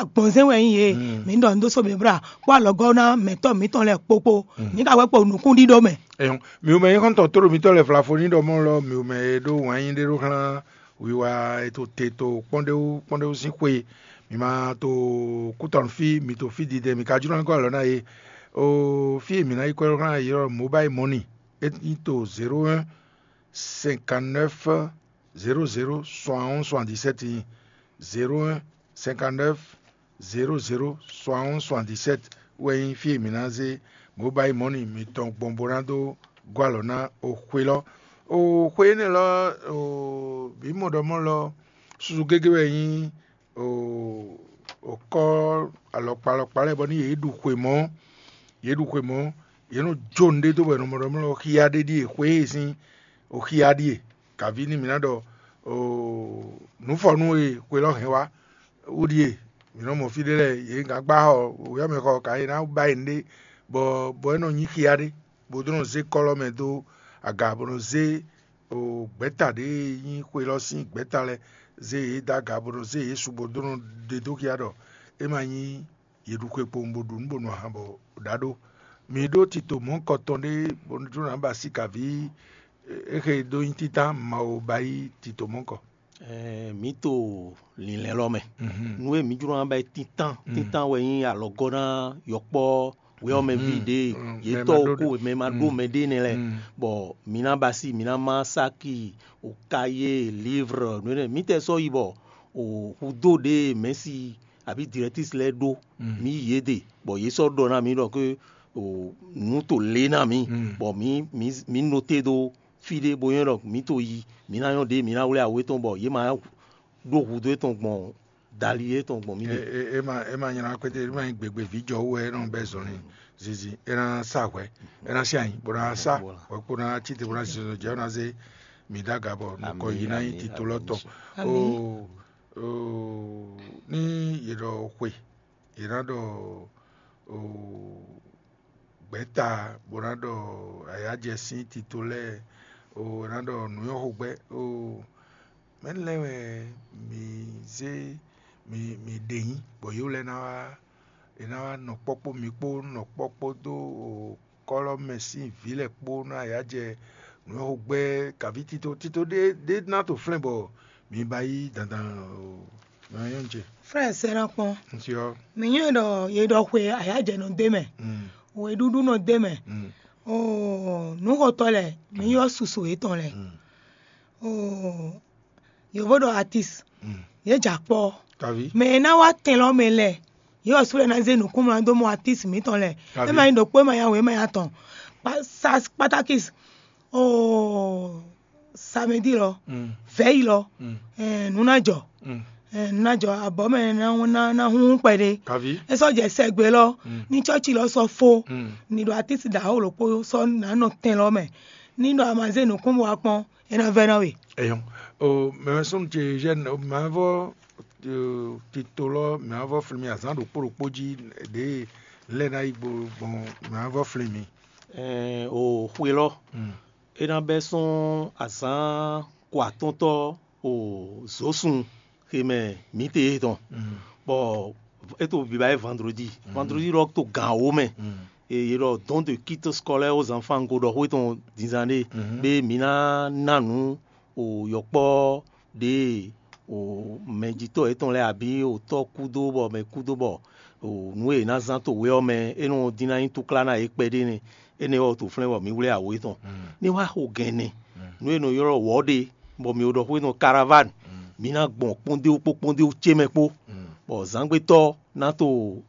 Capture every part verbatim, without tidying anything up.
gbɔnzɛn wɛ nyí yě. Mǐ ɖɔ nǔ dó sóběblá kpó alɔgɔ́ ná mɛ̌tɔ́ mǐtɔn lɛ́ɛ kpokpo. Mǐ ka wɛ kpo nǔkún ɖíɖó mɛ. Ɛyɔn, mǐ mɛ nyí xɔ́ntɔn tó ɖo mítɔn lɛ́ɛ flafo ní ɖɔ mɔ́ lɔ, mǐ mɛ e ɖó wǎn nyi ɖé ɖó xlán wiwa e to te to kpɔ́ndéwú kpɔ́ndéwú sín xwe. Mǐ ma to kútɔnú fí, mǐ to fí didɛ, mǐ ka jló ná gɔ́ alɔ ná yě. O fí e mǐ ná yi kwɛ́ ɖó xlán yě ɔ́, mobile money é nyí to zéro un cinquante-neuf zéro zéro soixante-onze soixante-dix-sept nyí zéro un cinquante-neuf zéro zéro soixante-onze soixante-dix-sept wɛ nyí fí e mǐ ná zé mobile money mǐtɔn gbɔn bó ná dó gɔ́ alɔ ná o xwe lɔ. O xwe énɛ́ lɔ o bǐ mɔ ɖɔ mɔ́ lɔ susu gégé wɛ nyí o o kɔ́ alɔkpa alɔkpa lɛ́ɛ bɔ ní yě ɖu xwe mɔ̌, yě ɖu xwe mɔ̌, yě nɔ jó nǔɖé dó bɔ è nɔ mɔ ɖɔ mɔ́ lɔ xyá ɖé ɖíe xwe e sín o xyá ɖíe. Kaví nú mǐ ná ɖɔ nǔfɔnú e xwe lɔ hɛn wá wú ɖíe. Mǐ nɔ mɔ fí ɖé lɛ́ɛ yě gǎn gbá xɔ wěyɔ́mɛxɔ ka é ná ba e nǔɖé bɔ bɔ é nɔ nyí xia ɖé, bó dó nɔ zé kɔ́lɔ́ mɛ dó aga bó nɔ zé gbɛ̌ta ɖě e nyí xwe lɔ sín gbɛ̌ta lɛ́ɛ zé yě dó aga bó nɔ zé yě su bó dó nɔ ɖe dó xia ɖɔ é ma nyí yě ɖu xwe kpowun bó ɖu nǔ bó nu ahan bɔ ɖǎ ɖó. Mǐ ɖó tito mɔ̌kɔ tɔn ɖé bó nɔ jló ná ba síkaví é xe dó nyí títán Mawu ba yí tito mɔ̌kɔ. Ɛɛ, mǐ to lǐnlɛ́n lɔ mɛ. Nú e mǐ jló ná ba yi tintán tintán wɛ nyí alɔgɔ́ ná yɔkpɔ́ wɛ ɔ́ mɛ ví ɖě yě tɔ́ ko mɛ ma ɖó mɛ ɖé nɛ́ lɛ́ɛ, bɔ mǐ ná ba sí mǐ ná má sáki o kayé livre nǔ énɛ́ mǐtɛɛ sɔ́ yi bɔ o hudó ɖě mɛ̌si abǐ dirɛtísi lɛ́ɛ ɖó mǐ yi yě ɖe, bɔ yě sɔ́ ɖɔ ná mǐ ɖɔ ké o nǔ to lě ná mǐ, bɔ mǐ mǐ mǐ noté ɖó fí ɖé bó nyɔ́ ɖɔ mǐ to yi mǐ ná nyɔ́ ɖě mǐ ná wlí awu étɔn bɔ yě ma ɖó hudó étɔn gbɔn dali étɔn gbɔn mǐ ɖe. É ma é ma nylá kpéte é ma nyí gbegbe vǐ jɔ wú wɛ é nɔ bɛ́ zɔnlin zinzin é ná sa hwɛ é ná sí anyi bó ná sa hwɛ kpó ná cí te bó ná zinzɔn jɛ bó ná zé mǐ ɖó aga bɔ nukɔ yi ná nyí tito lɔ tɔn. O o ní yě ɖɔ xwe yě ná ɖɔ o gbɛ̌ta bó ná ɖɔ ayǎjɛ sín tito lɛ́ɛ o ná ɖɔ nǔnywɛ́xogbɛ́ o mɛ̌ lɛ́ɛ wɛ mǐ zé mǐ mǐ ɖe nyí bɔ yě lɛ́ɛ ná wá è ná wá nɔ kpɔ́ kpó mi kpó nɔ kpɔ́ kpódó kɔ́lɔ́ mɛ sín vǐ lɛ́ɛ kpó ná yá jɛ nǔ e xo gbɛ́ kaví tito tito ɖé ɖé ná to flɛ́n bɔ mi ba yí dandan o. Nɔ nyɔ́ ce. Frɛ sɛ́ ná kpɔ́n. Nti ɔ́. Mǐ nyɔ́ ɖɔ yě ɖɔ xwe ayǎjɛ nɔ dó mɛ, weɖúɖú nɔ dó mɛ, oo nǔxotɔ́ lɛ́ɛ mǐ ylɔ́ susu yětɔn lɛ́ɛ. Oo yǒvo ɖɔ atis, yě jɛ akpɔ́. Kaví. Mɛ e ná wá tɛn lɔ mɛ lɛ́ɛ, yě ɔ́ sú lɛ́ɛ ná zé nǔkúnmlá dó mɔ atis mǐtɔn lɛ́ɛ. Kaví. É ma nyí ɖokpó é ma nyí awe é ma nyí atɔn. Kpa- sa- Spartakis, oo samedi lɔ, vɛ̌yi lɔ, ɛɛ, nǔ ná jɔ. Ɛɛ, nǔ ná jɔ abɔ̌ mɛ ná ná ná húnhún kpɛɖé. Kaví. É sɔ́ jɛ sɛgbe lɔ, ní cɔ́ci lɔ sɔ́ fó, ní ɖo atis ɖaxó ɖokpó sɔ́ ná nɔ tɛn lɔ mɛ. Ní ɖɔ a ma zé nǔkún bó wá kpɔ́n, é ná vɛ́ ná we. Eyɔn, o mɛ sɔn ce jɛn o mɛ vɔ tito lɔ mɛ vɔ flin mi azán ɖokpó ɖokpó jí ɖě lɛ ná yi gbɔn mɛ vɔ flin mi. Ɛɛ o xwe lɔ, é ná bɛ́ sɔ́n azán ko atɔ́ntɔ́ o zǒsun xe mɛ mǐtɛɛ tɔn, bɔ é to biba yé vendredi. Vendredi lɔ to gan wo mɛ. Ye ɖɔ don de kit scolaire aux enfants go ɖɔ xó tɔn dinzan ɖé, bé mǐ ná ná nǔ o yɔkpɔ́ ɖě o mɛjitɔ́ yětɔn lɛ́ɛ abǐ o tɔ́ kúdó bɔ mɛ kúdó bɔ o nǔ e è nǎ zán to wě ɔ́ mɛ é nɔ dín ná nyí túklá ná yě kpɛɖé nɛ́. Énɛ́ ɔ́ to flɛ́n bɔ mǐ wlɛ́ awo yětɔn. Ní wá xo gɛ̌n nɛ́, nǔ e nɔ ylɔ́ wɔ̌ ɖe bɔ mǐ ɖɔ xó énɔ karaván, mǐ ná gbɔn kpɔ́ndéwú kpó kpɔ́ndéwú ce mɛ kpó, bɔ zǎngbétɔ́ ná to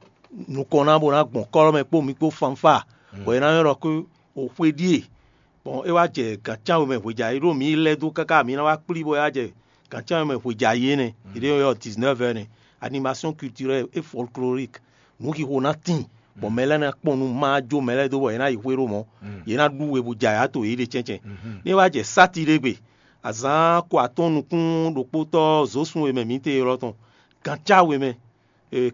nukɔn ná bó ná gbɔn kɔ́lɔ́ mɛ kpó mi kpó fanfá, bɔ è ná ylɔ́ ɖɔ xó o xwe ɖíe. Bon, é wá jɛ gǎn cánwe mɛ hweja é ɖó mǐ lɛ́ dó káká mǐ ná wá kplí bɔ é wá jɛ gǎn cánwe mɛ hweja é nɛ́. È ɖě ylɔ́ dix-neuf heures nɛ́. Animation culturelle et folklorique, nǔxixo ná tíin, bɔ mɛ lɛ́ɛ ná kpɔn nú má jó mɛ lɛ́ɛ dó bɔ yě ná yi xwé ɖó mɔ̌, yě ná ɖú we bó jɛ ayǎ to yěɖée cɛ́ncɛ́n. Ní é wá jɛ sáti ɖé gbe, azǎn ko atɔ́ɔ́n nukún ɖokpótɔ́ zǒsun e mɛ mǐ te élɔ́ tɔn, gǎn cánwe mɛ,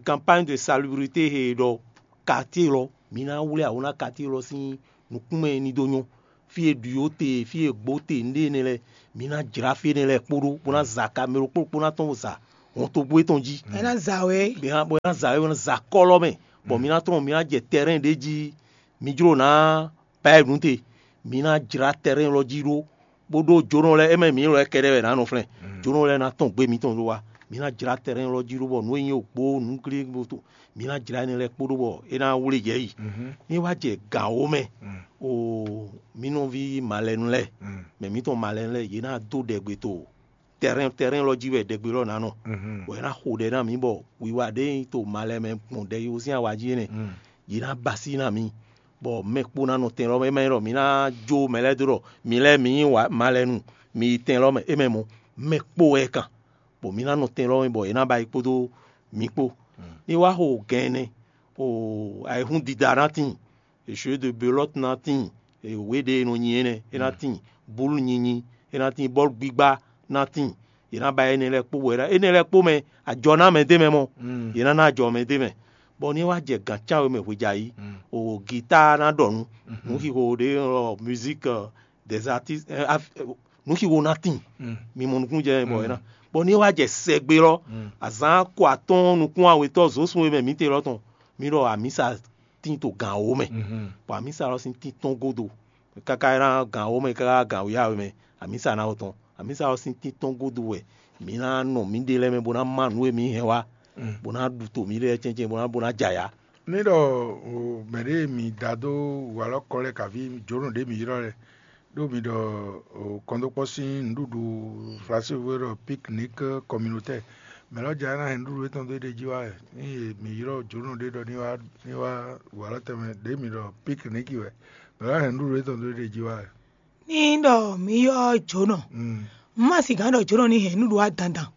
campagne de salubrité he ɖɔ quartier lɔ, mǐ ná wlí awo ná quartier lɔ sín nukúnmɛ ní dó nyɔ́. Fí e ɖu yǒ te, fí e gbǒ te, nǔɖé énɛ́ lɛ́ɛ, mǐ ná jlá fí énɛ́ lɛ́ɛ kpóɖó, bó ná za kamɛ ɖokpó ɖokpó ná tɔ́n bó za. hɔntogbó tɔn jí. Ɛ ná za wɛ. Bɔ é ná bɔ é ná za wɛ, é ná za kɔ́lɔ mɛ, bɔ mi ná trɔn mi ná jɛ tɛrɛn ɖé jí, mi jló ná Bayɛnu te, mi ná jlá tɛrɛn lɔ jí ɖó, bó ɖó jónɔ lɛ́ɛ, é mɛ mǐ lɔ kɛɖɛ́ wɛ nǎ nɔ flɛ́n. Jónɔ lɛ́ɛ ná tɔn gbé mitɔn ɖó wá. Mi ná jlá tɛrɛn lɔ jí ɖó bɔ nǔ e nyí ògbó nǔ glí bó to, mi ná jlá énɛ́ lɛ́ɛ kpó ɖó bɔ é ná wlé yɛ yi. Ní wá jɛ gǎn wó mɛ, o mǐ nɔví malɛnu lɛ́ɛ, mɛ mǐtɔn malɛnu lɛ́ɛ, yě ná dó ɖɛgbe to tɛrɛn tɛrɛn lɔ jí wɛ ɖɛgbe lɔ ná nɔ, bɔ é ná xo ɖɛ ná mǐ bɔ wiwa ɖé nyí to malɛ mɛ gbɔn ɖɛ yó sín awa jí énɛ́, yě ná ba sí ná mǐ, bɔ mɛ kpó ná nɔ tɛn lɔ mɛ. É má nyí ɖɔ mǐ ná jó mɛ lɛ́ɛ dó ɖɔ mi lɛ́ɛ mi nyí malɛnu, mi yi tɛn lɔ mɛ, é mɛ mɔ mɛ kpó wɛ kan, bɔ mǐ ná nɔ tɛn lɔ mɛ bɔ yě ná ba yi kpódó mǐ kpó. Ní wá xo gɛn ɛnɛ, o ayihún dida ná tíin, jeu de belote ná tíin, wě ɖé e nɔ nyi énɛ́ é ná tíin, búlu nyinyi é ná tíin, bɔ́lu gbígbá ná tíin. Yě ná ba énɛ́ lɛ́ɛ kpó bɔ énɛ́ lɛ́ɛ kpó mɛ, ajɔ ná mɛ d'é mɛ mɔ, yě ná ná ajɔ mɛ d'é mɛ. Bɔ ní é wá jɛ gǎn cán we mɛ hwejayi, o gita ná ɖɔ nǔ, nǔ xixo ɖé ɔ musique des artistes, nǔ xixo ná tíin. Mi mɔ nukúnnú jɛ bɔ é ná. Bɔ ní é wá jɛ sɛgbe lɔ, azǎn ko atɔ́ɔ́n nukún awetɔ́ zǒsun e mɛ mǐ te lɔ tɔn, mi ɖɔ amǐsa tín to gǎn wó mɛ, bɔ amǐsa lɔ sín tín tɔ́n gúdo, káká ná gǎn wó mɛ káká gǎn wǒ yá wɛ mɛ, amǐsa ná wó tɔn. Amǐsa ɔ́ sín tín tɔn gúdo wɛ mǐ ná nɔ mǐɖée lɛ́ɛ mɛ bó ná má nǔ e mǐ hɛn wá, bó ná ɖu to mǐɖée lɛ́ɛ cɛ́ncɛ́n bó ná bó ná jɛ ayǎ. Ní ɖɔ mɛ̌ ɖě mǐ da dó walɔ́kɔ lɛ́ɛ kaví jǒnɔ ɖě mǐ ylɔ́ lɛ́ɛ, ɖó mǐ ɖɔ kɔndókpɔ́ sín nǔɖuɖu Flasévu e ɖɔ piknik kɔminotɛ́, mɛ̌ lɔ́ jɛ ná hɛn nǔɖuɖu étɔn dó éɖée jí wá wɛ? Ní mǐ ylɔ́ jǒnɔ ɖé ɖɔ ní wá ní wá walɔ́ tɛnmɛ ɖě mǐ ɖɔ piknik wɛ, mɛ̌ lɔ́ hɛn nǔɖuɖu étɔn dó éɖée jí wá wɛ? Ní ɖɔ mǐ ylɔ́ jǒnɔ, un ma sixú ɖɔ jǒnɔ ní hɛn nǔɖuɖu wá dandan.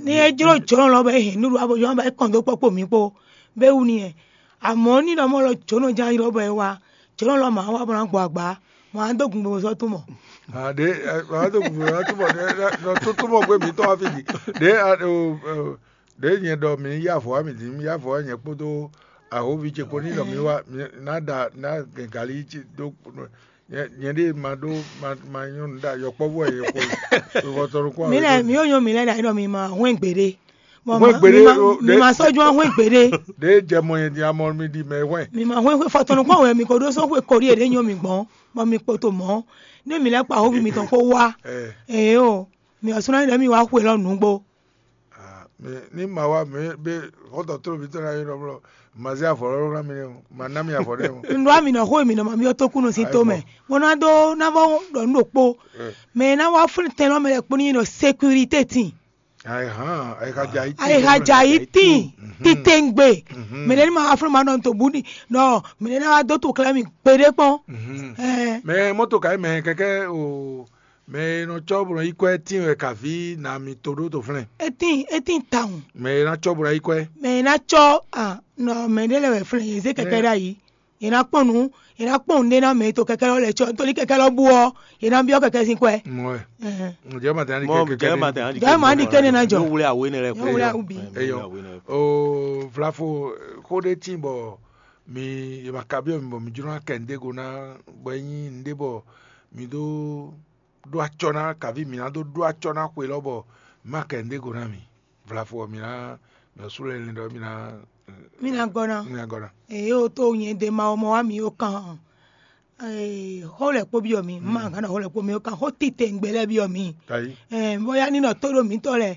Ní é jló jǒnɔ lɔ bɔ é hɛn nǔɖuɖu wá bó ylɔ́ bɔ é kɔn dó kpɔ́ kpo mǐ kpó, bó é wú n'i wɛ. Amɔ̌ ní ɖɔ mɔ lɔ jǒnɔ ján ylɔ́ bɔ é wá, jǒnɔ lɔ ma wá bó ná gbɔ agba, ma wá dó gun gbogbo sɔ́ tún mɔ. Ɖě wá dó gun gbogbo sɔ́ tún mɔ, ɖě nɔ tún tún mɔ gbé mǐtɔn wá fí ɖi. Ɖě ɖě nyɛ ɖɔ mǐ yá avɔ wá mǐ dín, mǐ yá avɔ wá nyɛ kpódó ahoví ce kpó ní ɖɔ mǐ wá ná ɖa ná gɛn galí dó. Nyɛ ɖée ma ɖó ma nyɔ́ nǔ ɖa yɔkpɔ́vú wɛ yɔkpɔ́vú. Vɔtɔnu kún. Mǐ lɛ́ɛ mǐ yó nyɔ́ mǐ lɛ́ɛ ɖo ayǐ ɖɔ mi ma hwɛ́n gbeɖé. Hwɛ́n gbeɖé. Mi ma sɔ́ jó hwɛ́n gbeɖé. Ɖě jɛ mɔ nyɛ din amɔ mi ɖi mɛ hwɛ́n. Mi ma hwɛ́n hwɛ́n fɔtɔnu kún wɛ mi ko ɖó sɔ́ hwe koɖí e ɖě nyɔ́ mi gbɔn, bɔ mi kpo to mɔ̌. Ní mi lɛ́ɛ kpa hóvi mitɔn kpó wá. Ee o, mi ɔ́ sú ná nyí ɖɔ mi wá xwe lɔ nǔgbó. Ní ma wá mɛ bé xɔ́ntɔn tló mǐtɔn ná nyí ɖɔ blɔ ma zé avɔ lɔ́ ná mi nɛ́ o, ma ná mi avɔ nɛ́ o. Un ɖó ami nɔ xó e mǐ nɔ ma byɔ́ tókúnɔ sín tó mɛ, bó ná dó ná vɔ ɖɔ nǔ ɖokpó. Mɛ e ná wá flín tɛn lɔ́ mɛ lɛ́ɛ kpó ní nyí ɖɔ sékuritée tin. Ayixa jɛ ayí tín. Ayixa jɛ ayí tín. Titewungbe. Mɛ ɖé ní ma wá flín ma nɔ to bú ní nɔ mɛ ɖé ná wá dó to klɛ́ mi gbeɖé kpɔ́n. Mɛ mɔto ka yi mɛ kɛkɛ o. Mɛ e nɔ cɔ́ bó nɔ yí kwɛ́ tíin wɛ kaví nǎ mitɔn ɖó to flɛ́n. É tíin é tíin tawun. Mɛ e ná cɔ́ bó ná yí kwɛ́. Mɛ e ná cɔ́ a nɔ mɛ ɖé lɛ́ɛ wɛ flɛ́n yě zé kɛkɛ́ ɖ'ayǐ. Yě ná kpɔ́n nǔ, yě ná kpɔ́n nǔɖé ná mɛ e to kɛkɛ́ lɔ lɛ́ɛ cɔ́, nítorí kɛkɛ́ lɔ bú ɔ́, yě ná byɔ́ kɛkɛ́ sín kwɛ́. Mɔ ɛ. Ŋjɛ ma tɛn ani kɛ kɛkɛ́ ɖé. Jɔ́ ma ɖi kɛ́ nɛ́ ná jɔ. Yóò wlé awo énɛ́ lɛ́ɛ kpó. Yóò wlé awu bǐ. Eyɔ. O vlafo xó ɖé tíin bɔ mi è ma ka byɔ́ mi bɔ mi jló ná kɛ nǔɖé go ná bɔ é nyí nǔɖé bɔ mi ɖó ɖó acɔ ná kaví mǐ ná dó ɖó acɔ ná xwe lɔ bɔ mǐ ma kɛ nǔɖé go ná mǐ. Vlafo ɔ́, mǐ ná mǐ ɔ́ sú lɛ́ lɛ́ ɖɔ mǐ ná Mí ná gɔ́ ná. Mǐ ná gɔ́ ná. Èyí ó tó nyɛ ɖe ma ɔ́ mɔ wá mǐ ó kan. Xó lɛ́ kpó byɔ́ mǐ, má gǎn ɖɔ xó lɛ́ kpó mǐ ó kan, xó titewungbe lɛ́ɛ byɔ́ mǐ. Bóyá ní nɔ tó ɖo mǐtɔn lɛ́ɛ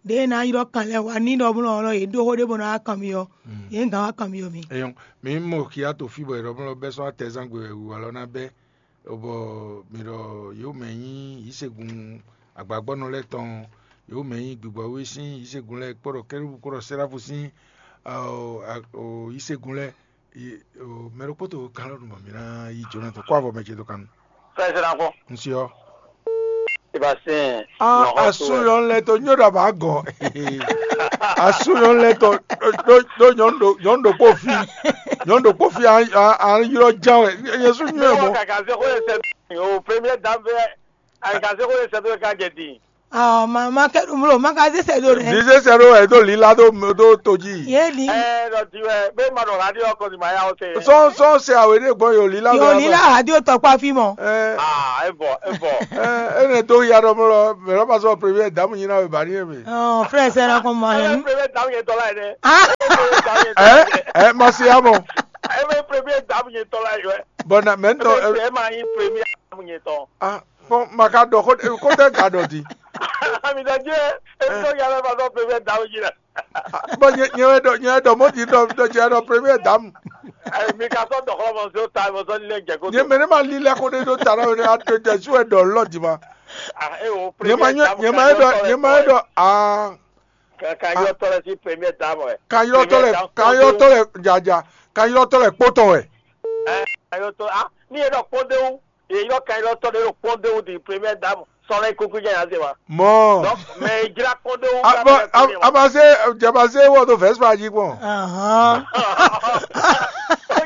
ɖě ná ylɔ́ kan lɛ́ɛ wá ní ɖɔ blɔ́ ɔ́, yě ɖó xó ɖé bó ná wá kan mǐ ɔ́, yě gǎn wá kan mǐ ɔ́ mǐ. Eyɔn, mǐ mɔ xia to fí bɔ è ɖɔ blɔ́ bɛ́ sɔ́ atɛzán gbe wɛ wǔ alɔ ná bɛ́. Bɔ mǐ ɖɔ yě mɛ nyí yǐsegun agbagbɔ́nɔ lɛ́ɛ tɔn, yě mɛ nyí gbigbɔwé sín yǐsegun lɛ́ɛ kpɔ́ ɖɔ kɛ́ɖúbú kpɔ́ ɖɔ sɛ́ráfu sín yǐsegun lɛ́ɛ. Mɛ ɖokpó to kan lɔ nú mɔ mǐ ná yí Jonathan kó avɔ mɛ ce dó kan nu. Sɛsɛra kɔ. Un si ɔ́. Sébastien. Ah, asu yɔ lɛ to nyɔ ɖo aba gɔn. Asu yɔ lɛ to do do nyɔnu do nyɔnu do kpo fi. Nyɔnu do kpo fi an an an yɔ jan wɛ. Yesu nyɔ mɔ. Kaka se ko se o premier dame fɛ. Kaka se ko se to ka jɛ di. Ɔ, ma ma kɛ ɖo mló, ma ka zé sɛ do nɛ. Di se sɛ ɖo ɛ do lila do do to jí. Ye li. Ɛ ɖɔ di wɛ be ma ɖɔ radio kɔ di ma ya o se. Sɔn sɔn se awe ɖe gbɔn yo lila Yo do. Lila radio tɔ kpa fi mɔ. Ɛ Ah, e bɔ, e bɔ. Ɛ ene do ya ɖɔ mlɔ mɛ lɔ ma sɔ premier dame nyi na we ba ni eme. Ɔ, frère sɛ na kɔn ma Ɛ hɛn. Premier dame yɛ tɔ la yɛ dɛ. Ah, Ɛ ɛ ma se ya mɔ. Ɛ premier dame yɛ tɔ la yɛ. Bɔn na mɛ n tɔ Ɛ ma yi premier dame yɛ tɔ. Ah, fɔn ma ka ɖɔ ko ko tɛ ga ɖɔ di. Ami dɔ jɛ, e tɔ ya lɛ ma sɔ premier dame yɛ. Bɔn nyɛ nyɛ wɛ ɖɔ nyɛ wɛ ɖɔ mɔ di ɖɔ ɖɔ jɛ ɖɔ premier dame. Ɛ mi ka sɔ dɔxɔ mɔ so ta mɔ sɔ ni lɛ jɛ ko. Nyɛ mɛ ne ma li lɛ ko ɖe ɖo ta ɖɔ ne a to jɛ su wɛ ɖɔ lɔ di ma. Ah, e o Nyɛ ma premier nyɛ dame nyɛ ma yɛ ɖɔ nyɛ ma yɛ ɖɔ aa. Ka ka yɔ tɔ lɛ si premier dame wɛ. Ka yɔ tɔ lɛ ka yɔ tɔ lɛ jaja ka yɔ tɔ lɛ kpotɔ wɛ. Ɛ ka yɔ tɔ ah ni e ɖɔ kpɔndewu. Ye yɔ ka yɔ tɔ ɖe ɖo kpɔndewu di premier dame sɔlɛ kuku jɛ ya se wa. Mɔ Donc mais e jla kpɔndewu. Abase jabase wɔ do vɛspa ji kpɔn. Ahɔn.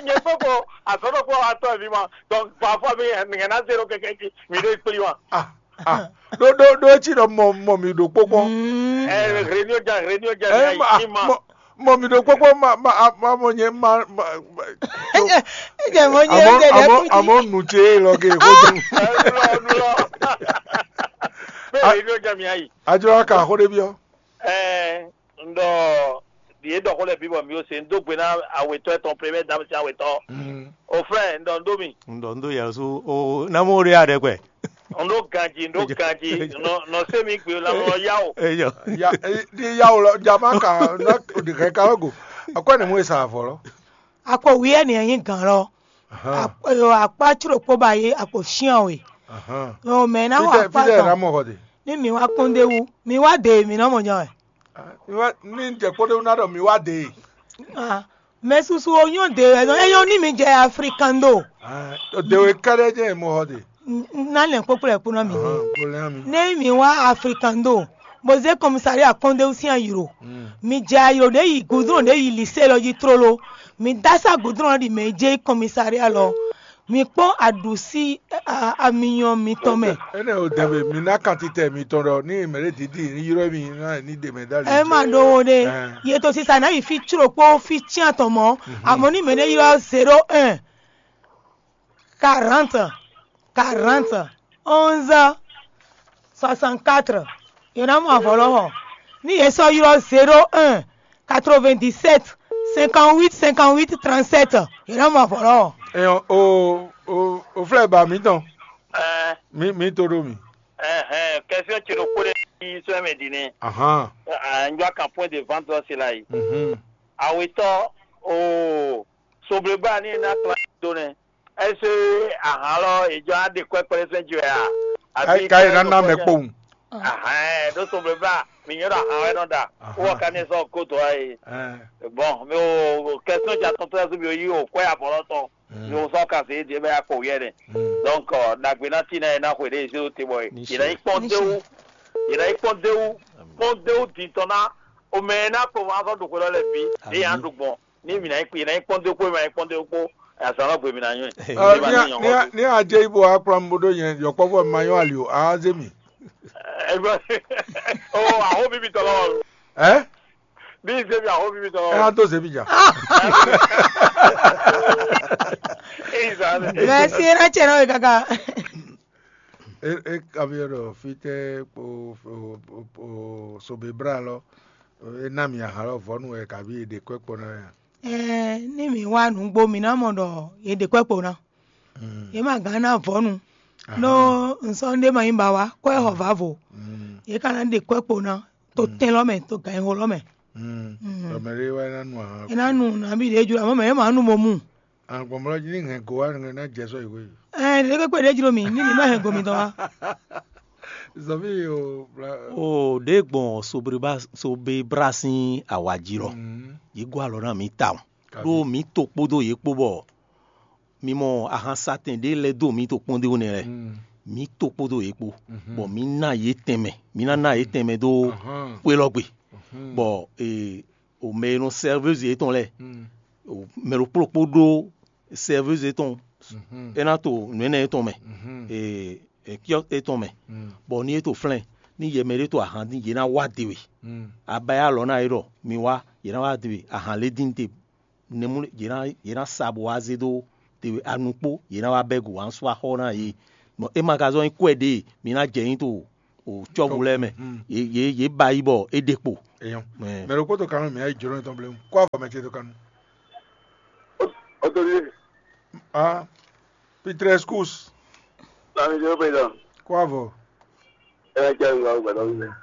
Nye kpɔkpɔ azɔnɔ kpɔ wa tɔ vi ma. Donc parfois mi ŋɛ na zero kɛkɛ ji mi ɖe kpli wa. Ah ah ɖo ɖo ɖo etsi ɖɔ mɔ mɔ mi ɖo kpɔkpɔ. Mm. Ɛ réunion ja réunion ja Ɛ ya ma yi ma. mɔ mɔ mi ɖo kpɔkpɔ ma ma a- ma mɔ nyɛ ma ma. Ejɛ mɔ nyɛ Amɔ ejɛ lɛ amɔ kuti. Amɔ nu tse lɔ ke ko dun. Ɛ nulɔ nulɔ. Bɛ réunion ja mi ayi. Adzɔ ka xo ɖe biɔ. Ɛ n ɖɔ ɖi e ɖɔ xo lɛ bi bɔ mi o se n do gbe na awetɔ etɔn premier dame si awetɔ. Mm. O frère n ɖɔ n ɖo mi. Un ɖɔ un ɖó yɛ̌xó o ná mɔ ɖé aɖɛkpɛ. Un ɖó ganji, un ɖó ganji, nɔ nɔ se mi gbe la nɔ ya o. Eyɔ. Ya e di ya o lɔ jama ka na de kɛ ka go. Akɔ ne mu e sa avɔ lɔ. Akɔ wiɛ ni enyi gan lɔ. Ahan. Akɔ akpa tsro kpo ba ye akɔ shian we. Ahan. O mɛ na wa Fidɛ akpa fidɛ na kan. Mɔ xɔ de. Ni mi wa kpɔn de wu, mi wa de mi nɔ mɔ nya wɛ. Ah, mi wa ni jɛ kpɔn de wu na dɔ mi wa de. Ah, mɛ susu o nyɔ de wɛ zɔn eyɔ ni mi jɛ african do. Ah, o de we kɛɖɛ jɛ mɔ xɔ de. N- n- na lɛn kpokpo lɛ kpo na mi Ahan, ne. Ko lɛ mi. Ne mi wa african do, bo ze commissariat kɔndewu sin ayiro. Mm. Mi jɛ ayiro ɖe yi goudron ɖe yi lycée lɔ ji trolo. Mi dasa goudron lɔ ɖi mɛ je commissariat lɔ. Mi kpɔn aɖusi a- amiyɔn mitɔn mɛ. Ene o dɛmɛ mi na kantitɛ mitɔn ɖɔ ni mɛ ɖe didi ni yrɔ mi na ni de mɛ dali. Ɛ ma ɖo wo ɖe. Ɛ. Ye to sisa na yi fi tsro kpo fi tian tɔn mɔ. Amɔ ni mɛ ɖe yrɔ zéro un, quarante, quarante, onze, soixante-quatre. Ye na mɔ avɔ lɔ xɔ. Ni ye sɔ yrɔ zéro un, quatre-vingt-dix-sept, cinquante-huit, cinquante-huit, trente-sept. Ye na mɔ avɔ lɔ xɔ. Eyɔn o o o flɛ ba mi tɔn. Ɛɛ Mi mi to ɖo mi. Ɛhɛn, kɛsíɔn ce ɖokpó ɖé yi sɔ́ mɛ din nɛ́. Ahan. Ɛ, ɛ, n jɔ kan point de vente ɔ́ se la yi. Mhm. Awetɔ o sobleba ni na kla do nɛ. Ɛsɛ ahan lɔ ejɔ aɖe kɔ ɛkpɛlɛ sɛn ji wɛ a? Ka ka yi nana mɛ kpowun. Ahan, ɖo sobleba mi nyɔ ɖo ahan wɛ nɔ da. Ahan. Wɔ ka ne sɔ ko dɔ ayi. Ɛn. Bon, mi o kɛsíɔn ja tɔntɔn yɛ so mi o yi o kɔ ya bɔlɔ tɔn. Mm. Yo sɔ ka se di bɛ akɔ wiɛ nɛ. Mm. Donc, euh, dagbe na ti na ye na xwe ɖe zero te bɔ ye. Ni Ye na se. Yi kpɔn Ni dewu. Ye na yi kpɔn dewu. Kpɔn dewu di tɔn na. O mɛ na kpɔn wa sɔ do xwe lɔ lɛ bi. Ye ya Ami. Do gbɔn. Ni mi na yi kpɔn, ye na yi kpɔn dewu kpɔ, ye ma yi kpɔn dewu kpɔ. Azan lɔ gbe mi na nyɔ. Ɔ, Ye ba ni a- ni nyɔ ni a- ko. Ni a jɛ ibo akplɔ mi bo ɖo nyɛ yɔkpɔvɔ ma nyɔ ali o a ze mi. Ɛ bɔ. O aho bibi tɔ lɔ. Ɛ? Bí zébi aho bibi tɔ. Ɛ a to zebi ja. Eyi zan ne. Mɛ si e na tsɛ nɔ we kaka. E e kavi ɖɔ fitɛ kpo kpo kpo sobe bra lɔ e na mi ahan lɔ vɔnu wɛ kavi e ɖe kwɛ kpɔ na ya. Ɛɛ, ni mi wa nugbo mi na mɔ ɖɔ ye ɖe kwɛ kpo na. Mm. Ye ma gán ná vɔnu. Aha. No nsɔnɖe ma nyí ba wa kɔ ɛ xɔ vavo. Mm. Ye ka ná ɖe kɔ ɛ kpo ná to Mm. tɛn lɔ mɛ to ganyixo lɔ mɛ. Mm. Mm. Tɔmɛ ɖe wá ná nu aha. E ná nu nabi ɖe jlo amɔ mɛ ye ma nu mo mu. Agbɔnmlɔ jí ní hɛn go wá ní ná jɛ sɔ ìwé. Ɛ ɖe kpekpe ɖe jlo mi ní mi ma hɛn go mi tɔn wa. Zɔvi o bla. O ɖe gbɔn sobriba sobe bra sín awaji lɔ. Mm. Yi gɔ alɔ ná mi ta o. Kabi. Ɖó mi to kpódó yě kpó bɔ mi mɔ ahansatɛn ɖé lɛ́ dó mi to kpɔ́n ɖé nɛ́ lɛ́ɛ. Mm. Mi to kpódó yě kpó. Mhm. Bɔ mi ná yě tɛnmɛ, mi ná ná yě tɛnmɛ dó Ahan. Xwé lɔ gbe. Mhm. Bɔ ee, o mɛ e nɔ sɛrvɛzi yětɔn lɛ́ɛ, Mm. O mɛ ɖokpó ɖokpó ɖó sɛrvɛzi yětɔn, Mhm. É ná to nǔ énɛ́ yětɔn mɛ, Mhm. ee, ee, kiɔ́ yětɔn mɛ, Mm. bɔ ní é to flɛ́n, ní yɛ mɛ ɖé to ahan dín, yě ná wá de we. Abaya lɔ ná é ɖɔ mi wá, yě ná wá de we ahan lé dín te. Nɛmú yě ná yě ná sa bó wá zé dó te we anu kpó, yě ná wá bɛ́ gu wǎn sú axɔ́ ná yě. Bɔ é ma ka zɔ́n nyí kwɛ ɖě mi ná jɛ nyí to o cɔ́vu lɛ́ɛ mɛ. Yě yě yě ba yi bɔ é ɖe kpo. Eyɔn. Mɛ ɖokpó to kanú mǐ ayi jǒnɔ tɔn bléwu kó avɔ mɛ ce to kanú. Autorité. Ah, Petrus Kus. Lami jẹ́ pé dán. Kó avɔ. Ẹ jẹ́ ìgbà ògbà tó ń bẹ̀.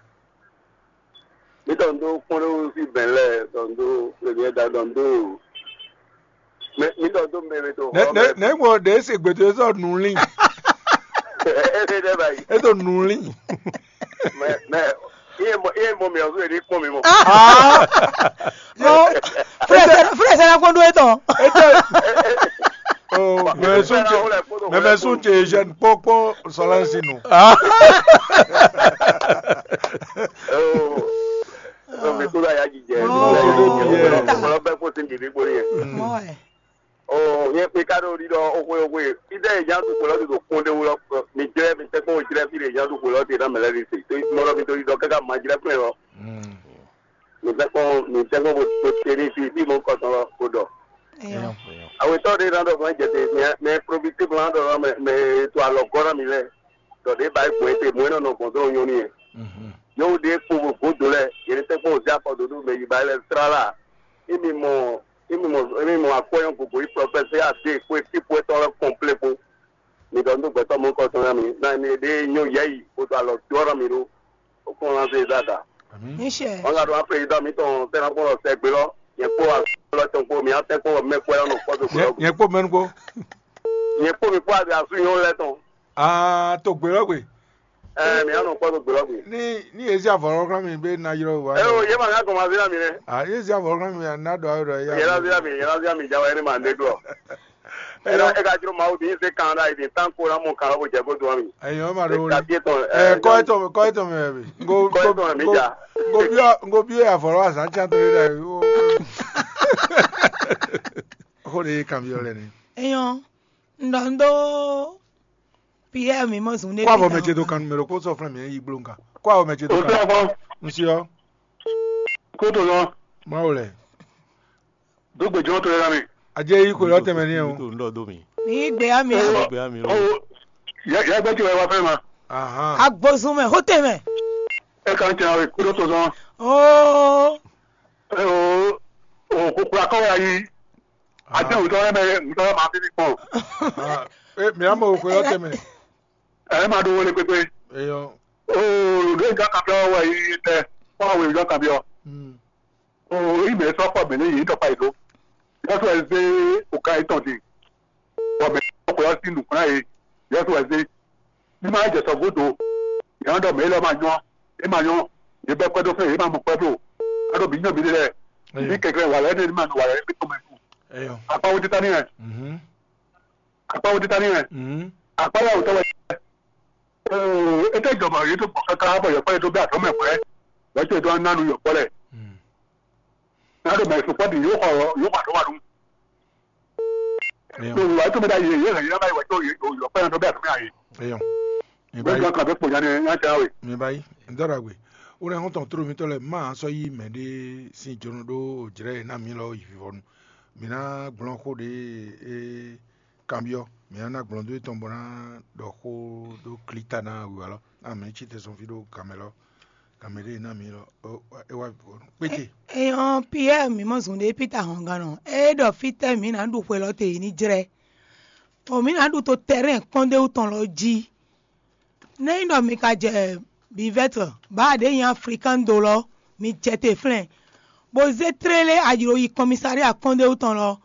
Mi tɔn dó kpɔ́n ɖó sí bɛn lɛ tɔn dó premier da tɔn dó. Mɛ mi tɔn dó mɛ mi tó xɔ mɛ. Nɛ mɔ ɖe se gbɛtɔ sɔ nulin. Ɛ ɛ dɛ ba yi. E to nulin. Mɛ mɛ iye mɔ iye mɔ mi ɔsùn yɛ ní kpɔn mi mɔ. Frère, frère, c'est la qu'on doit être. Mɛmɛ sún ce jeune kpɔkpɔ sɔlɛnsi nu. Ɔ mi kúrò ayá jijɛ. Ɔ bɛ kó sí ndìdí gbóni yẹn. Ɔ yẹn pé ká ló rí lọ ókwe ókwe. Fídẹ́ ìjà tó kpọ̀lọ́ ti tó kún dé wúlọ́. Mi jẹ́ mi tẹ́ kó jẹ́ fi lè ìjà tó kpọ̀lọ́ ti náà mẹ́lẹ́ ní sè. Tó mọ́ lọ́ mi tó rí lọ kẹ́kẹ́ máa jẹ́ fún ẹ lọ. Mi tẹ́ kó mi tẹ́ kó bó tẹ ní fi bí mo kọ̀ tán lọ kó dọ̀. Awetɔ ɖe ná ɖɔ fún jɛte mɛ profite blan ɖɔ mɛ mɛ to alɔ gɔ́ ná mi lɛ. Dɔ ɖe ba gbɔn te mɔ nɔ nɔ gbɔn dɔn nyɔnu yɛ. Yewu ɖe kpo godo lɛ yɛrɛ tɛ kpo zi akɔ dodo mɛ yi ba lɛ sra la. Imi mɔ imi mɔ imi mɔ akɔyɔ gogo yi prɔfɛsɛ ade kpo eti kpo etɔ lɛ kɔnplé kpo. Mi dɔ ndo gbɛtɔ mɔ kɔ tɔn mi na mi ɖe nyɔ yɛ yi kpo to alɔ dɔ mi ɖo. O kɔn na se dada. Michel. Wọn ka ɖo afɔ yi dɔ mi tɔn tɛ na kpɔn lɔ sɛgbe lɔ. Yɛ kpo asɔ lɔ tɔn kpo mi atɛ kpo mɛ kpo lɔ nɔ kpɔ to kpo lɔ. Yɛ kpo mɛnu kpo. Yɛ kpo mi kpo abi asu nyɔ lɛ tɔn. Aa to gbe lɔ gbe. Ɛɛ mi anɔ kpɔ to gbe lɔ gbe. Ni ni ezi avɔ lɔ kura mi be na yrɔ wa. Ɛ o yɛ ma ka kɔn ma fi na mi nɛ. Aa ezi avɔ lɔ kura mi na dɔ ayɔ dɔ ya. Yɛ la fi na mi yɛ la fi na mi jawa yɛ ni ma ne glɔ. Ena e ka jlo Mawu ɖi se kan ɖa yi tan ko na mɔ kan ko jɛ ko do ami. Eyo ma ɖo wuli. Ɛ kɔ etɔn kɔ etɔn mɛ bi. Ngo kɔ etɔn mɛ mi ja. Ngo biɔ ngo biɔ ya vɔlɔ azan can to yi ɖe. Xo ɖe kan biɔ lɛ ni. Eyɔn, un ɖɔ un ɖó Pierre mi mɔ zun ɖé. Kó avɔ mɛ ce do kan numero kó sɔ flɛn mi yi gbló nǹkan. Kó avɔ mɛ ce do kan. Ŋsi ɔ. Kó to lɔ. Mawu lɛ. Dógbe jɔn to yɛlɛ mi. Ajé yí kò lɔ tɛmɛ ní ɛ o. Tó ń dɔ dó mi. Ní gbé ami. Ó gbé ami lọ. Ó yẹ yẹ gbẹ́jì wẹ̀ wá fẹ́ ma. Ahan. Agbozun mɛ, hóte mɛ. Ẹ kàn tẹ àwọn ìkúrò tó sán. Ó. Ẹ o o kókó akọ́wé ayé. Àti òótọ́ rẹ mẹ òótọ́ rẹ máa fi ní pọ̀. Ah, eh, mi amo kò lọ tẹmɛ. Ẹ máa dún wọlé pépé. Eyɔ. O lóyún ká kàbíọ́ wẹ̀ yìí tẹ. Wọ́n á wẹ̀ yìí ká kàbíọ́. Hmm. O yi mɛ sɔ kɔ mɛ ne yi dɔ kpa yi do. Yɔsu ɛzé o ka yi tɔn di. Bɔ mɛ sɔ kɔ yɔ si nukun na ye. Yɔsu ɛzé. Ní ma jɛ sɔ godo. Yɔn dɔ mɛ lɔ ma nyɔ. E ma nyɔ. Ye bɛ kpɛdɔ fɛ ye ma mɔ kpɛdɔ. Ado bi nyɔ bi de lɛ. Bi kɛkɛ wala ɛnɛ ni ma nɔ wala ɛnɛ bi tɔmɛ. Eyɔ. Akpa wo tita ni yɛ. Mhm. Akpa wo tita ni yɛ. Mhm. Akpa ya wo tɔwɛ. Ee, e tɛ jɔ bɔ ye to gbɔ kaka bɔ yɔkpɔ ye to bɛ atɔ mɛ kɔɛ. Wɛ to ye to na nu yɔkpɔ lɛ. Hmm. Na ɖo mɛ sukpɔ ɖi yóò xɔ yóò xɔ àɖó wa ɖu. Eyɔ. Ɖo wíwá tó mi ɖa yě yé hɛn yín náà wá yíwá tó yé yɔkpɔ yẹn tó bɛ àtúnyà yé. Eyɔ. Mi Bẹ́ẹ̀ ba yi. Gan kan bɛ kpò yanni yá tẹ́ wé. Mi ba yi. N dɔra gbe. O lɛ hɔn tɔn toro mi tɔ lɛ ma sɔ yi mɛ ɖe sin jono ɖo jrɛ na mi lɔ yi vivɔnu. Mi na gblɔn xo ɖe e kanbyɔ. Mi na gblɔn do etɔn bɔ na ɖɔ xo ɖo klita na wiwa lɔ. Na mi ci te sɔn fi ɖo gamɛ lɔ. Gamɛ ɖe na mi lɔ. E wa vivɔnu. Kpete. Eyɔn Pierre mi mɔ zun ɖe Peter hɔn gan nɔ. E ɖɔ fitɛ mi na ɖu xwe lɔ te yi ni jrɛ. O mi na ɖu to tɛrɛn kpɔndéwu tɔn lɔ jí. Nɛ nyí ɖɔ mi ka jɛ bivɛtɔ bá ɖě nyí Afrikando lɔ, mi jɛ te flɛ́n, bó zé tlélé ayi ɖo yi kɔmísáɖí akɔ́ndéwú tɔn lɔ,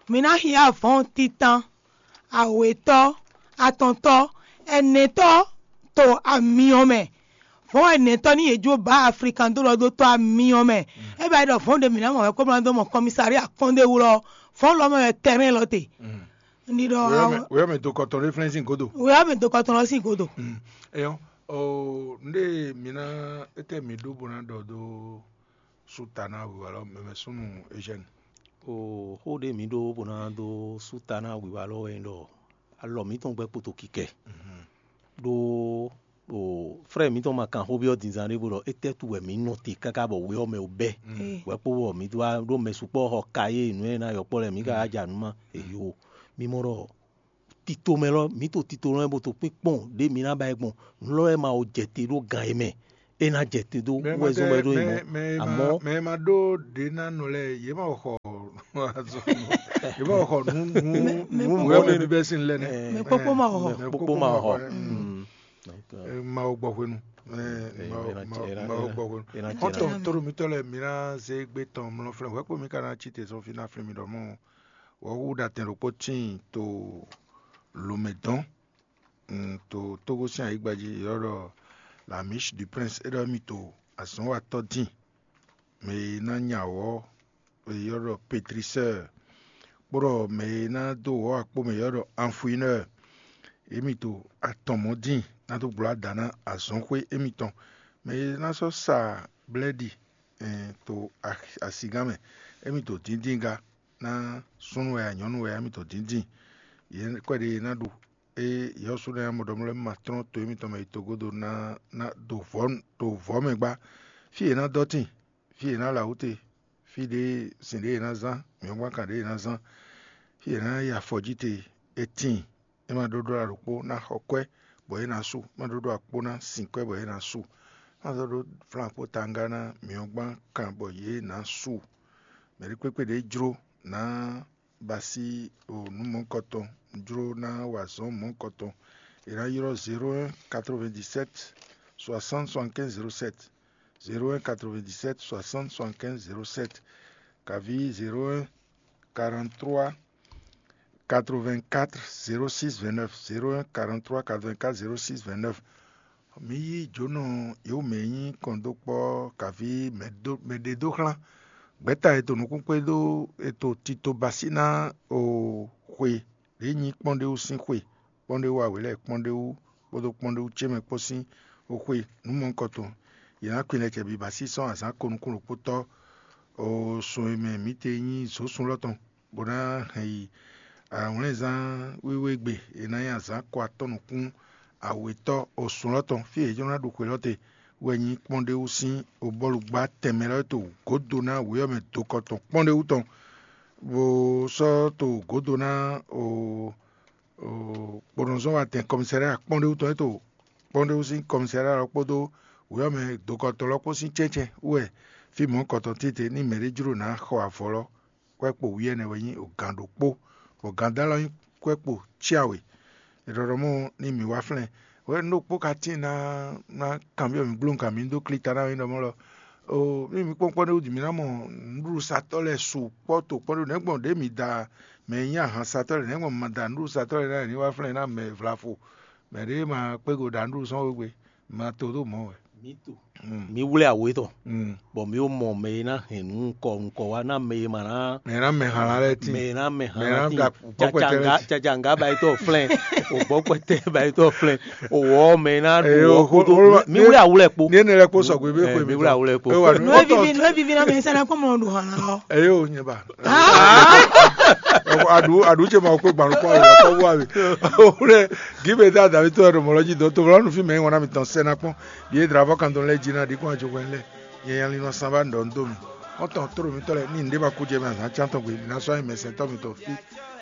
mi ná hyá vɔ̌n titan, awětɔ́, atɔntɔ́, ɛnɛtɔ́ to amyɔ mɛ. Vɔ̌n ɛnɛtɔ́ ní yě jó bá Afrikando lɔ dó tɔ́ amyɔ mɛ. É ba yi ɖɔ vɔ̌n ɖě mǐ ná mɔ wɛ kó mlá dó mɔ kɔmísáɖí akɔ́ndéwú lɔ, vɔ̌n lɔ mɛ wɛ tɛrɛn lɔ te. Un ɖi ɖɔ weyɔ mɛ do kɔtɔn ɖé flɛ́n sín godo. Weyɔ mɛ do kɔtɔn lɔ sín godo. Eyɔ, o nɖe mi na ete mi ɖó bo na ɖɔ do suta na wiwa lɔ mɛmɛ súnnu Eugène. O xó ɖé mi ɖó bo na do suta na wiwa lɔ wɛ ɖɔ alɔ mǐtɔn gbɛ kpoto kikɛ. Ɖó O frɛ mǐtɔn ma kan xó byɔ́ dinzan ɖé bó ɖɔ étɛ́ wú wɛ mǐ nɔ te káká bɔ we ɔ́ mɛ wú bɛ́. Hwɛ̌kpo bɔ mǐ wá ɖó mɛ sukpɔ́ xɔ kayé nǔ e ná yɔkpɔ́ lɛ́ɛ mǐ ka wá ja nǔ má eyo. Mí mɔ ɖɔ tito mɛ lɔ mǐ to tito lɔ mɛ bo to kpínkpɔ́n ɖě mǐ ná ba ɛ gbɔn. Nǔ lɔ wɛ ma wo jɛ te ɖó gan e mɛ é ná jɛ te dó wɛ zɔn wɛ ɖó nyí mɔ. Àmọ́ mɛ e ma ɖó ɖě ná nɔ lɛ́ɛ yě ma xɔ azɔn yě ma xɔ nǔ nǔ nǔ mɔ̌ ɖé bíbɛ́ sín lɛ́ nɛ́. Mɛ kpókpó ma xɔ. Mɛ kpókpó ma xɔ. Mawu gbɔ hwenu. Mawu gbɔ hwenu. Xɔ́ntɔn tóɖo mitɔ́ lɛ́ɛ mi ná zé gbé tɔn mlɔ́ flɛ́n hwɛ̌kpo mi ka ná cí te sɔ́ fí ná flín mi ɖɔ mɔ́. Wɔ̌xúxú ɖo atɛn ɖokpó tíin to lǒmɛ dɔn to Tógó sín ayǐgba jí, è ylɔ́ ɖɔ Lamish du Prince, é ɖɔ émí to azɔ̌nwatɔ́ dín, mɛ e ná nya wɔ̌, è ylɔ́ ɖɔ Petrisɛ́ɛ, kpó ɖɔ mɛ e ná dó wɔ̌ akpó mɛ, è ylɔ́ ɖɔ Anfuinɛ́ɛ. Émí to atɔn mɔ̌ dín ná dó gblǒ ada ná azɔ̌xwé émítɔn. Mɛ e ná sɔ́ sa blɛ́ɖi to asigán mɛ, émí to díndín ga ná súnnu wɛ a nyɔ̌nu wɛ a, émí to díndín. Yě kɔ́ɖi e ná ɖu é yɔ́sú lɛ́ɛ mɔ ɖɔ mlɔ́ ma tlɔ́n to émítɔn mɛ yi togódo ná ná ɖo vɔ̌ ɖo vɔ̌ mɛ gbá. Fí yě ná dɔ́ tíin, fí yě ná la wǔ te, fí ɖě sin ɖě yě ná zán, mǐhwɛ́ngban kan ɖě yě ná zán, fí yě ná yi afɔ jí te, é tíin. É ma ɖó ɖó alɔ ɖokpó ná xɔ kwɛ́ bɔ é ná su, é ma ɖó ɖó akpó ná sin kwɛ́ bɔ é ná su, é ma sɔ́ ɖó flán kpó tangá ná mǐhwɛ́ngban kan bɔ yě ná su. Mɛ̌ ɖé kpékpé ɖě jló ná ba sí nǔ mɔ̌hunkɔtɔn, jló ná wa azɔ̌ mɔ̌hunkɔtɔn. È nǎ ylɔ́ zéro un quatre-vingt-dix-sept soixante soixante-quinze zéro sept, zéro un quatre-vingt-dix-sept soixante soixante-quinze zéro sept, kaví zéro un quarante-trois quatre-vingt-quatre zéro six vingt-neuf, zéro un quarante-trois quatre-vingt-quatre zéro six vingt-neuf. Mǐ yí jǒnɔ yǒ mɛ e nyí kɔndókpɔ́ kaví mɛ ɖe dó xlán. Gbɛ̌ta e to nukúnxwé ɖó e to tito basí ná o xwe ɖě nyí kpɔ́n ɖé wú sín xwe, kpɔ́n ɖé wú awě lɛ́ɛ kpɔ́n ɖé wú kpódó kpɔ́n ɖé wú ce mɛ kpó sín o xwe nǔ mɔ̌hunkɔtɔn. Yě ná kwin lɛ́ cɛ́ biba sísɔ́ azǎn ko nukún ɖokpótɔ́ o sun e mɛ mǐ te nyí zǒsun lɔ tɔn, bó ná hɛn yi awlɛ́nzán wíwé gbe e ná nyí azǎn ko atɔ́ nukún awětɔ́ o sun lɔ tɔn, fí e è jló ná ɖu xwe lɔ te wɛ nyí kpɔ́n ɖé wú sín obɔ́lugbá tɛnmɛ lɔ to gǒdo ná wě ɔ́ mɛ dokɔ tɔn kpɔ́n ɖé wú tɔn, bó sɔ́ to gǒdo ná o kponɔzɔ́watɛn kɔmisariya kpɔ́n ɖé wú tɔn é to kpɔ́n ɖé wú sín kɔmisariya lɔ kpódó wě ɔ́ mɛ dokɔ tɔn lɔ kpó sín cɛ́cɛ́ wú wɛ fí mɔ̌hunkɔtɔn tete ní mɛ̌ ɖé jló ná xɔ avɔ lɔ. Kwɛ́kpo wú ɛnɛ wɛ nyí gǎn ɖokpó, bɔ gǎndá lɔ nyí kwɛ́kpo cyáwe. È ɖɔ ɖɔ mɔ̌ ní mǐ wá flɛ́n hwɛ un ɖokpó ka tíin ná ná kanbyɔ́ mǐ gbló un kan mǐ dó klí ta ná nyí ɖɔ mɔ̌ lɔ. Oo, mí mǐ kpɔ́n kpɔ́n ɖé wútu mǐ ná mɔ nǔɖuɖusatɔ́ lɛ́ɛ su kpɔ́ to kpɔ́n ɖé nɛ̌gbɔn ɖě mǐ da mɛ e nyí ahansatɔ́ lɛ́ɛ nɛ̌gbɔn ma da nǔɖuɖusatɔ́ lɛ́ɛ ná ní wá flɛ́n ná mɛ vlafo mɛ ɖě ma kpégo ɖa nǔɖuɖu sɔ́n wegbe ma to ɖó mɔ̌ wɛ. Mǐ wlé awo étɔn, bɔ mǐ wo mɔ mɛ e ná hɛn nǔ nukɔ nukɔ wá ná mɛ e ma ná mɛ ná mɛ hàn lɛ́ tíin mɛ e ná mɛ hàn mɛ ná lɛ́ tíin da gbɔkpɛtɛ lɛ́ tíin. Cacaŋga bayitɔ flɛn, o gbɔkpɛtɛ bayitɔ flɛn, o wɔ mɛ e ná ɖu wɔ kódó. Mǐ wlé awo lɛ kpo. Ní ẹni lɛ kpo sɔgbe bí xwe mi wlé awo lɛ kpo. Nú evivi nú evivi náà mi sẹ́nà kó mọ̀ ọ́n dùn hàn lọ. Eyo nyɛ ba. Adu adu ce ma kó gbalɔ kpɔ yɔ kpɔ wá mi. O wlé gíbe dá dàbí tó ẹ̀rọ mọ̀lọ́jì dɔn tó wlọ́nù fí mẹ́yìn wọn náà mi tàn sẹ́nà kpọ́n. Bíyé dra fọ́ kan tó lẹ́ jí náà dín kó àjò wẹ́n lẹ́. Yẹn yan linɔ sanba ɖɔ ŋ dó mi. Xɔ́ntɔn tóɖo mitɔ́ lɛ́ɛ ní nǔɖé ma kú jɛ mɛ azǎn cántɔn gbe, mi ná sɔ́ nyi mɛsɛntɔ́ mitɔn fí.